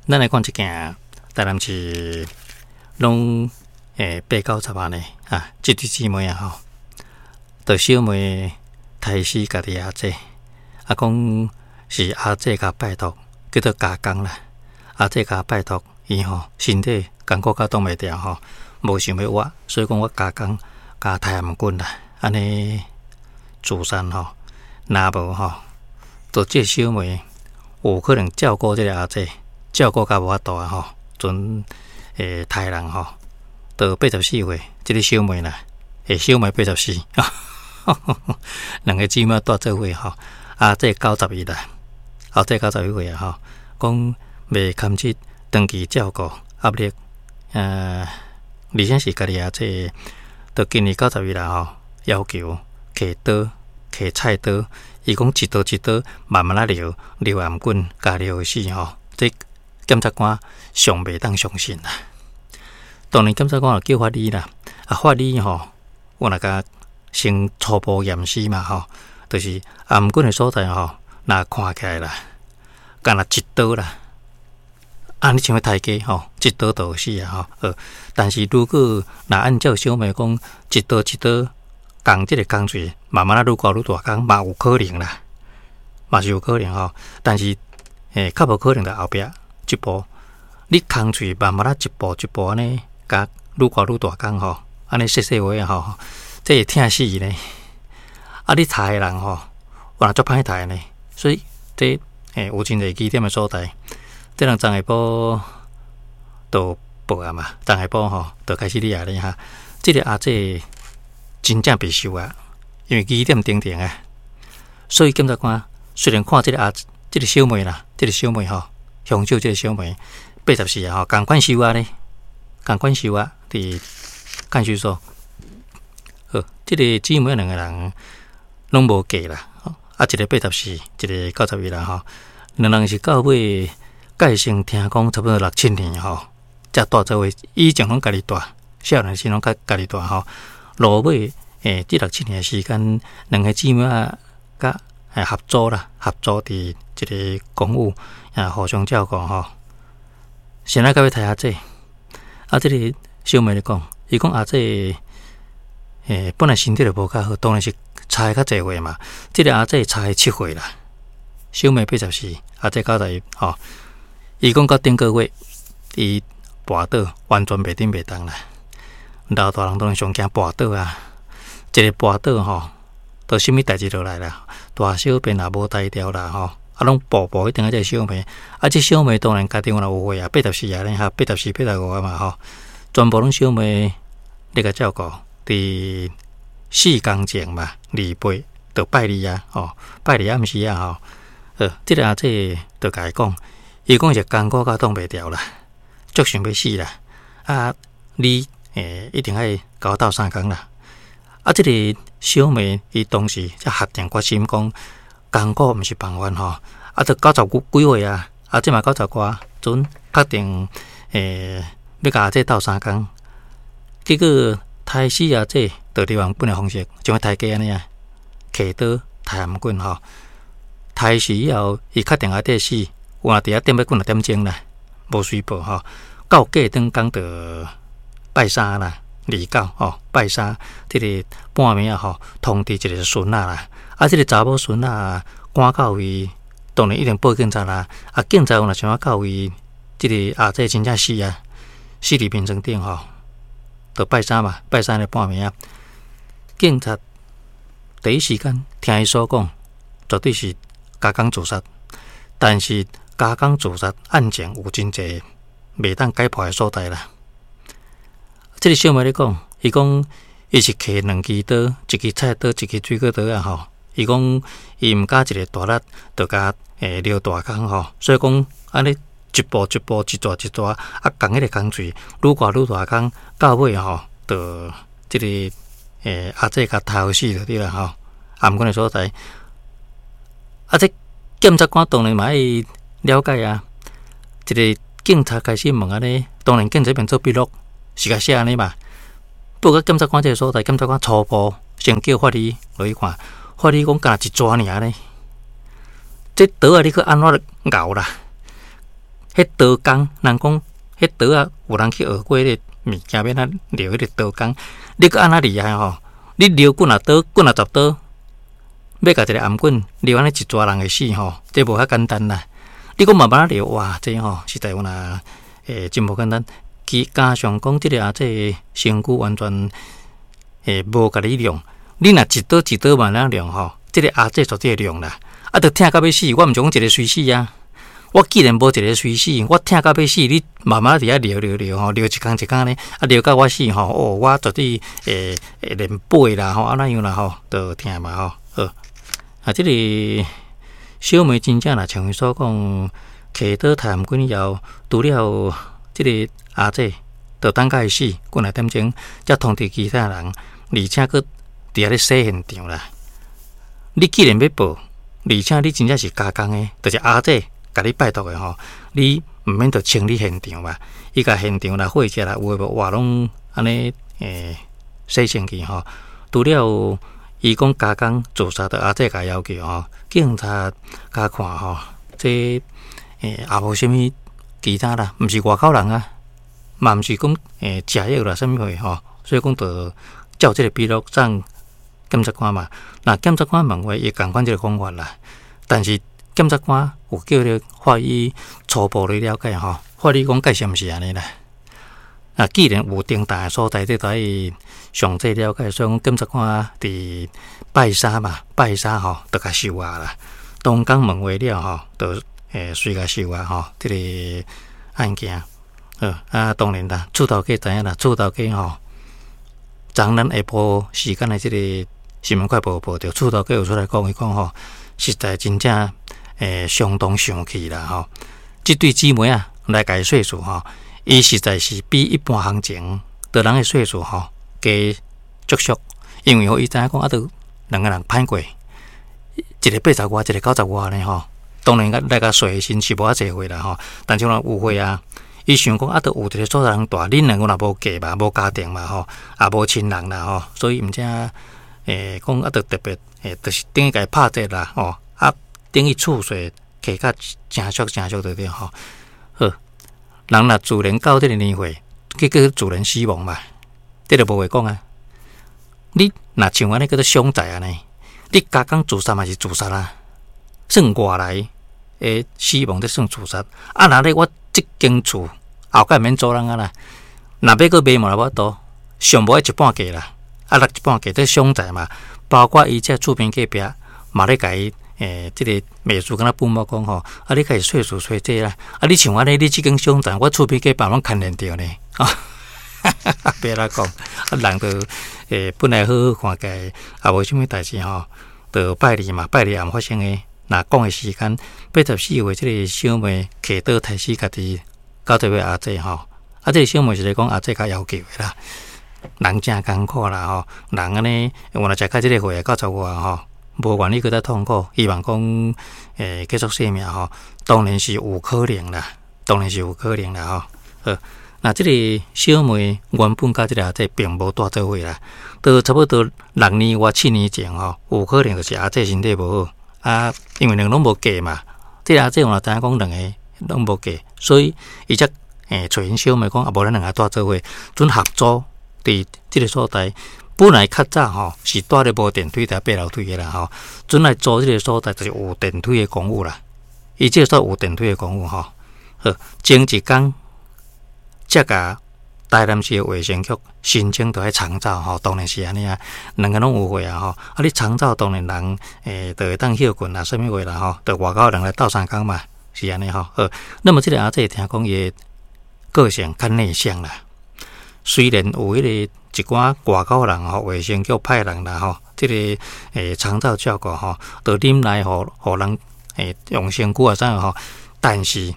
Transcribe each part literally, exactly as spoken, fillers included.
咱來看這件台南市攏欸八九十萬的啊，這對姊妹啊吼，就小妹刣死家己阿姐，啊講是阿姐共拜託，叫做加工啦。阿姐共拜託，伊吼身體艱苦甲擋袂牢吼，無想欲活，所以講我加工共刣頷頸啦，按呢自殺吼，若無吼，就這小妹有可能照顧這个阿姐，照顧甲無法度啊吼，陣會刣人吼，到八十四歲，這个小妹啦，欸小妹八十四，兩个姊妹蹛做伙吼，阿姐九十一啦，阿姐九十一歲啊吼，講袂堪得長期照顧壓力，呃，而且是家己阿姐，到今年九十一啦吼，要求提刀提菜刀，伊講一刀一刀慢慢仔撩撩頷頸，共撩死吼，這檢察官尚袂當相信啦。當然檢察官就叫法醫啦，啊法醫吼，有若共先初步驗屍嘛吼，就是頷頸的所在吼，若看起來啦，敢若一刀啦，按呢像欲刣雞吼，一刀就死啊吼。呃，但是如果若按照小妹講，一刀一刀仝這个工序，慢慢仔愈割愈大工嘛有可能啦，嘛是有可能吼。但是欸，較無可能就後壁這步，你工序慢慢仔一步一步按呢，共愈割愈大工吼，按呢細細話吼，這會疼死呢。啊，你刣的人吼，原來足歹刣呢，所以這欸有真濟疑點的所在。這人昨下晡就報案嘛，昨下晡吼就開始立案咧哈。這个阿姐真正袂受啊，因為疑點重重啊，所以檢察官雖然看這个阿這个小妹啦，這个小妹吼，兇手這个小妹八十四啊吼，仝款收押咧，仝款收押佇看守所。好，這个姊妹兩个人攏無嫁啦，啊，一个八十四，一个九十一啦吼，兩人是到尾結成聽講差不多六七年吼，才蹛做伙，以前攏家己蹛，少年時攏較家己蹛吼，落尾欸，這六七年的時間，兩个姊妹仔佮合租啦，合租佇一个公寓啊，互相照顧吼。先來到尾刣阿姐，啊，這个小妹咧講，伊講阿姐欸，本來身體就無較好，當然是差較濟歲嘛。這个阿姐差七歲啦，小妹八十四，阿姐九十一吼。伊講到頂個月，伊跋倒，完全袂頂袂動啦。老大人當然上驚跋倒啊，一个跋倒吼，就啥物代誌就來啦，大小便也無台調啦吼，啊，攏步步一定愛這个小妹，啊，這小妹當然家己有有歲啊，八十四啊咧哈，八十四、八十五啊嘛吼，全部攏小妹咧共照顧。佇四工前嘛，二八就拜二啊，吼，拜二暗時啊，吼，呃，這个阿姐就共伊講，伊講是艱苦甲擋袂牢啦，足想欲死啦，啊，你欸一定愛共我鬥相共啦。啊，這个小妹伊當時才下定決心講，艱苦毋是辦法吼，啊，都九十幾幾歲啊，啊，這嘛九十外，陣確定欸欲共阿姐鬥相共，結果刣死阿姐，就利用本的方式，像刣雞按呢啊，提刀刣頷頸吼，刣死以後，伊確定阿姐死，有若佇遐點欲幾若點鐘啦，無隨報吼。到隔轉工就拜三啦，二九吼，拜三，這个半暝啊吼，通知一个孫仔啦，啊，這个查某孫仔趕到位，當然一定報警察啦。啊，警察有若想欲到位，這个阿姐真正死啊，死佇眠床頂吼。就拜三嘛，拜三的半暝啊，警察第一時間聽伊所講，絕對是加工自殺。但是加工自殺案情有真濟袂當解破的所在啦。這个小妹咧講，伊講伊是提兩支刀，一支菜刀，一支水果刀啊吼。伊講伊毋敢一个大力，就共欸撩大工吼，所以講按呢一步一步，一逝一逝，啊，仝彼个工序愈割愈大工，到尾吼，就這个欸阿姐共刣死就對啦吼。頷頸的所在，啊，這檢察官當然嘛愛了解啊。一个警察開始問按呢，當然警察邊做筆錄，是共寫按呢嘛。不過檢察官這个所在，檢察官初步先叫法醫落去看，法醫講敢若一逝爾呢。這刀仔你去按怎𠢕啦？彼刀工，人講彼刀仔有人去學過彼个物件，欲按怎撩彼个刀工，你閣按怎厲害吼？你撩幾若刀，幾若十刀，欲共一个頷頸撩按呢一逝人會死吼，這無遐簡單啦。你閣慢慢仔撩，哇，這吼實在有若欸真無簡單。其加上講，這个阿姐身軀完全欸無共你量，你若一刀一刀慢慢量吼，這个阿姐絕對會量啦。啊，著疼甲欲死，我毋是講一个隨死啊。我既然無一个隨死，我疼甲欲死，你慢慢佇遐撩撩撩吼，撩一工一工呢，啊撩到我死吼，哦，我絕對會會連背啦吼，按怎樣啦吼，著疼嘛吼。好，啊，這个小妹真正若像伊所講，揢刀刣頷頸以後，除了這个阿姐，著等甲伊死，幾若點鐘，才通知其他人，而且閣佇遐咧洗現場啦。你既然欲報，而且你真正是加工的，就是阿姐共你拜託的吼，你毋免著清理現場嘛。伊共現場啦、血跡啦，有的無哇，攏按呢欸洗清氣吼。除了伊講加工自殺，著阿姐共要求吼，警察共看吼，這欸也無啥物其他啦，毋是外口人啊，嘛毋是講欸食藥啦，啥物貨吼，所以講著照這个筆錄送檢察官嘛。若檢察官問話，伊仝款這个講法啦。但是檢察官有叫咧法醫初步咧了解吼，法醫講解釋毋是按呢啦。啊，既然有重大的所在，這著愛詳細了解，所以講檢察官佇拜三嘛，拜三吼，著共收押啦。當工問話了吼，著欸隨共收押吼，這个案件。好啊，當然啦，厝頭家知影啦，厝頭家吼，昨咱下晡時間的這个新聞快報報著，厝頭家有出來講，伊講吼，實在真正欸相當生氣啦吼。這對姊妹仔來共伊說辭吼，伊實在是比一般行情的人的歲數吼加足俗，因為吼伊知影講啊，著兩个人歹過，一个八十外，一个九十外呢吼。當然來共算的時是無遐濟歲啦吼，但是若有歲啊，伊想講啊，著有一个所在通住，恁兩个若無嫁嘛，無家庭嘛吼，也無親人啦吼，所以毋知欸講啊，著特別欸，就是等於共伊拍折啦吼，啊，等於厝稅加較誠俗誠俗著對吼。好，人若自然到這个年歲，結果自然死亡嘛，這就無話講啊。你若像按呢叫做傷財按呢，你加工自殺嘛是自殺啊，算外來的死亡，這算自殺。啊，若咧我這間厝後蓋免租人啊啦，若欲閣賣嘛無法度，上無愛一半價啦，啊，落一半價，這傷財嘛。包括伊這厝邊隔壁嘛咧共伊欸，這个秘書敢若本某講吼，啊，你開始稅數稅這啦，啊，你像按呢，你這間傷財，我厝邊隔壁攏牽連著呢，啊，別來講，啊，人著欸本來好好看起來，也無啥物代誌吼，著拜二嘛，拜二暗發生的，若講的時間，八十四歲這个小妹揢刀刣死家己九十歲阿姐吼，啊，這个小妹是咧講阿姐較要求的啦，人誠艱苦啦吼，人按呢，原來食到這个歲九十外吼，無願意閣再痛苦，希望講欸結束生命吼，當然是有可能啦，當然是有可能啦吼。好，那這个小妹原本佮這个阿姐並無蹛做伙啦，到差不多六年外七年前吼，有可能就是阿姐身體無好啊，因為兩个攏無嫁嘛，這个阿姐嘛知影講兩个攏無嫁，所以伊才欸揣𪜶小妹講啊，無咱兩个蹛做伙，陣合租佇這个所在。本來較早吼是蹛咧無電梯佇爬樓梯的啦吼，陣來租這个所在就是有電梯的公寓啦。伊這個所有電梯的公寓吼，好，前一工才共台南市的衛生局申請著愛長照吼，當然是按呢啊，兩个攏有歲啊吼，啊你長照當然人欸著會當歇睏啊，啥物話啦吼，著外口人來鬥相共嘛，是按呢吼。好，那麼這个阿姐聽講伊的個性較內向啦，雖然有彼个一寡外口人吼，衛生局派人啦吼，這个欸長照照顧吼，著忍耐予予人欸用身軀啊啥吼，但是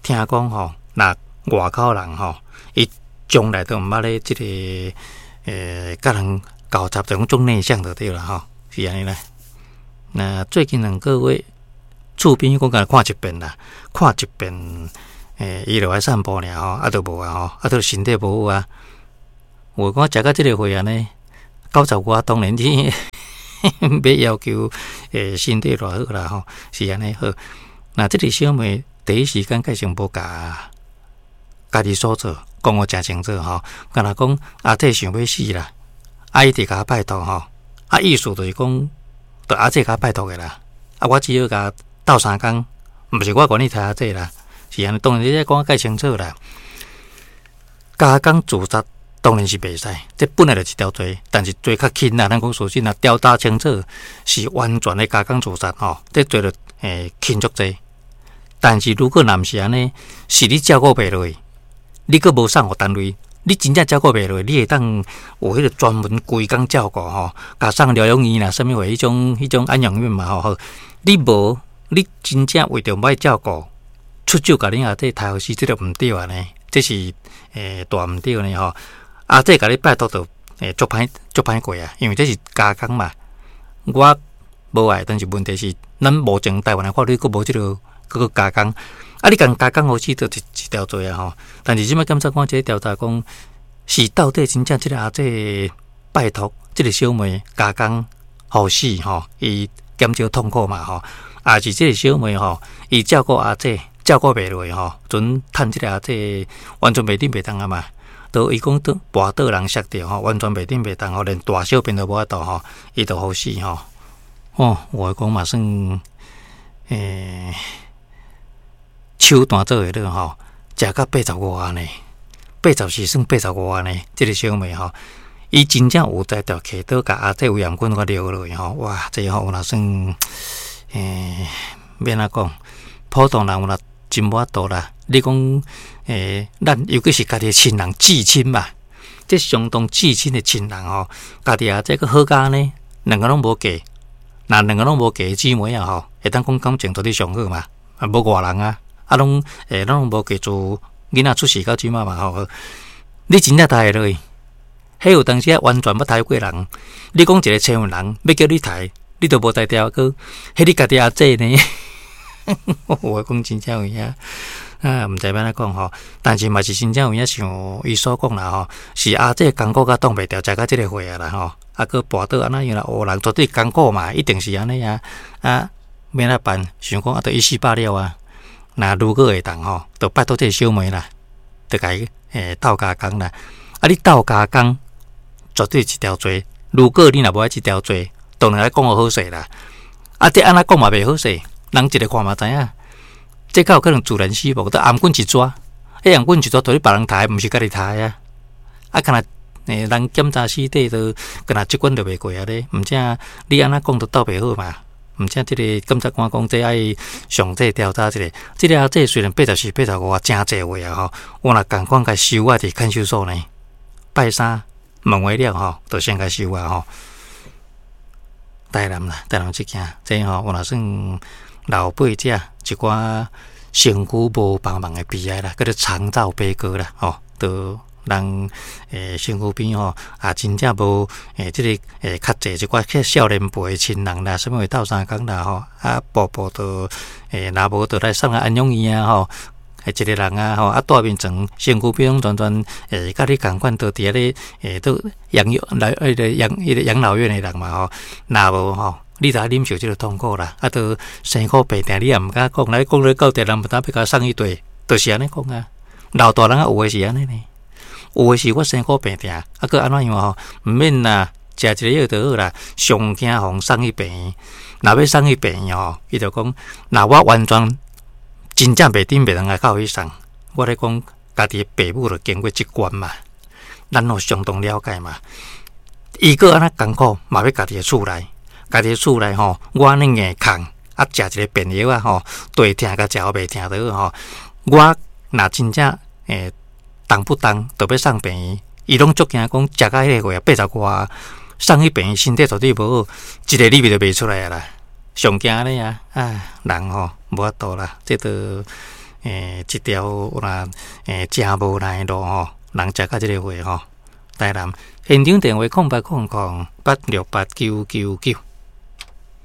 聽講吼，若外口人吼，伊從來都毋捌咧這个欸佮人交雜，就講足內向就對啦吼，是按呢啦。那最近兩個月，厝邊我共看一遍啦，看一遍，欸，伊就愛散步爾吼，啊，就無啊吼，啊，就身體無好啊。有講食到這个歲按呢，九十外當然你欲要求欸身體偌好啦吼，是按呢好。那這个小妹第一時間蓋成無共家己所做，講予誠清楚吼。敢若講阿姐想欲死啦，啊伊直共拜託吼，啊意思就是講，著阿姐共拜託的啦。啊，我只好共鬥相共，毋是我願意刣阿姐啦，是按呢。當然你這講較清楚啦。加工自殺當然是袂使，這本來就是一條罪，但是罪較輕啦。咱講事實啦，調查清楚是完全的加工自殺吼，這罪就會輕足濟。但是如果若毋是按呢，是你照顧袂落，你閣無送予單位，你真正照顧袂落，你會當有彼個專門規工照顧吼，共送療養院啦，啥物貨彼種彼種安養院嘛吼。好，你無，你真正為著欲照顧，出手共恁阿姐刣予死，這就毋對啊呢，這是欸大毋對呢吼。阿姐共你拜託就會足歹足歹過啊，因為這是加工嘛。我無愛，但是問題是，咱目前台灣的法律閣無這個閣閣加工。啊，你共加工予死，就一一條罪啊吼。但是這擺檢察官這個調查講，是到底真正這個阿姐拜託這個小妹加工予死吼，伊減少痛苦嘛吼。抑是這個小妹吼，伊照顧阿姐照顧袂落吼，陣趁這個阿姐完全袂頂袂當啊嘛。都伊講倒跋倒人摔著吼，完全袂頂袂當吼，連大小便都無法度吼，伊就予死吼。哦，我講嘛算，欸，手段做會落吼，食到八十外呢，八十四算八十外呢，這個小妹吼，伊真正有才調揢刀共阿姐胃癌菌共撩落去吼，哇，這吼有若算，欸，欲按怎講？普通人有若真無法度啦。你講，欸，咱尤其是家己的親人至親嘛，這相當至親的親人吼，家己阿姐閣好佳呢，兩个攏無嫁，若兩个攏無嫁姊妹啊吼，會當講感情絕對上好嘛，啊無外人啊，啊攏欸攏無嫁自囡仔出世到這擺嘛吼，你真正刣會落去，彼有當時啊完全捌刣過人，你講一个千人欲叫你刣，你都無才調閣，彼你家己阿姐呢？我講真正有影。啊，毋知欲按怎講吼，但是嘛是真正有影像伊所講啦吼，是阿姐艱苦甲擋袂牢，食到這個歲啊啦吼，啊閣跋倒按怎樣啦，烏人絕對艱苦嘛，一定是按呢啊，啊，欲按怎辦？想講啊，著一死百了啊。若如果會當吼，就拜託這個小妹啦，就共伊欸鬥加工啦。啊，你鬥加工絕對一條罪。如果你若無愛這條罪，當然愛講予好勢啦。啊，這按怎講嘛袂好勢，人一个看嘛知影。這較有可能自然死亡，都頷頸一逝，彼頷頸一逝，都是別人刣，毋是家己刣啊！啊，敢若欸人檢查屍體都敢若這關就袂過啊咧，毋正你按怎講都鬥袂好嘛。毋正這個檢察官講這愛詳細調查一下。這個阿姐雖然八十四、八十五，誠濟歲啊吼，我若仝款共收啊佇看守所呢，拜三問完了吼，就先共收啊吼。台南啦，台南這件，這吼有若算老輩者一寡身軀無幫忙的悲哀啦，叫做長照悲歌啦，吼，都人欸身軀邊吼也真正無欸這個欸較濟一寡較少年輩的親人啦，啥物會鬥相共啦吼，啊步步都欸若無就來送來安養院啊吼，一個人啊吼，啊蹛眠床身軀邊攏全全欸佮你仝款，都佇遐咧欸都養育來彼個養彼個養老院的人嘛吼，若無吼，你就愛忍受這個痛苦啦，啊，都生苦病痛，你也毋敢講，來講咧到底人毋知欲共送去佗，就是按呢講啊。老大人啊，有的是按呢呢，有的是我生苦病痛，啊，閣按怎樣吼？毋免啦，食一個藥就好啦。上驚予送去病院，若欲送去病院吼，伊就講，若我完全真正袂頂袂當來到去送，我咧講家己的爸母就經過這關嘛，咱攏相當了解嘛。伊閣按怎艱苦，嘛欲家己的厝內。家己厝內吼，我按呢硬扛，啊，食一個便藥啊吼，對疼共食予袂疼就好吼。我若真正欸動不動就欲送病院，伊攏足驚講食到彼個歲啊，八十外送去病院，身體絕對無好，一个禮拜就袂出來啊啦。上驚按呢啊，啊人吼無法度啦，這都欸一條有若欸誠無奈的路吼，人食到這個歲吼。台南現場電話空八空空八六八九九九。